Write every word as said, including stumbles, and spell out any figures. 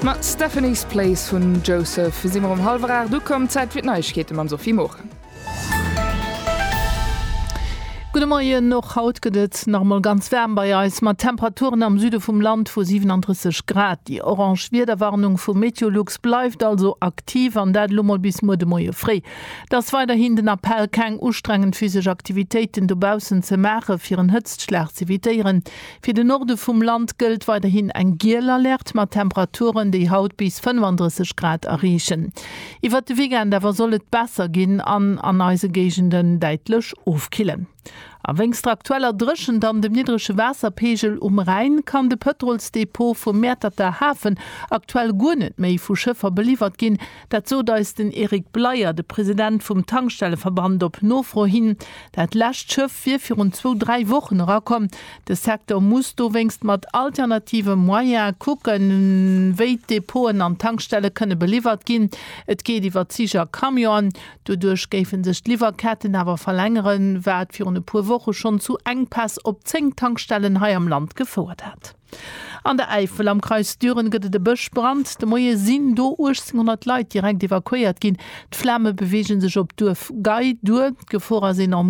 Mat Stephanie's Place vun Joseph si mer um hallwer aacht ukomm, Zäit fir d'Neiegkeete mam Sophie Morang. Gudde Moien, och haut gëtt et nach emol ganz waarm bei eis, mat Temperaturen am Süde vum Land vu siwenandrësseg Grad. Déi orange Wiederwarnung vu Meteolux bleift also aktiv, an dat elo mol bis muer de Moie fréi. Et ass weiderhin den Appell, keng ustrengend physesch Aktivitéiten dobaussen ze maachen, fir en Hëtztschlag z'evitéieren. Fir den Norde vum Land gëllt weiderhin eng giel Alerte mat Temperaturen, déi haut bis fënnefandrësseg Grad erreechen. Iwwert de Weekend awer soll et besser ginn an an eise Géigenden däitlech ofkillen. A wéinst der aktueller Dréchent an dem niddrege Waasserpeegel um Rhäin kann de Pëtrolsdepot vum Mäerterter Hafen aktuell guer net méi vu Schëffer beliwwert ginn. Dat sot eis den Eric Bleyer, de President vum Tankstelleverband op Nofro hin. Dat lescht Schëff wier virun zwou, dräi Wochen erakomm. De Secteur muss dowéinst mat alternative Moyene kucken, wéi d'Depoten an d'Tankstelle kënne beliwwert ginn. Et geet iwwer Zich a Camionen. Doduerch géife sech d'Liwwerketten awer verlängeren, wat virun e puer Woche schonn zu Enkpäss op zéng Tankstellen hei am Land gefouert hat. An der Äifel am Kreis Düren gëtt et e Bëschbrand. De Moie sinn do uechtzénghonnert Leit direkt evakuéiert ginn. D'Flame beweege sech op d'Duerf Gei duer. D'Gefor ass enorm.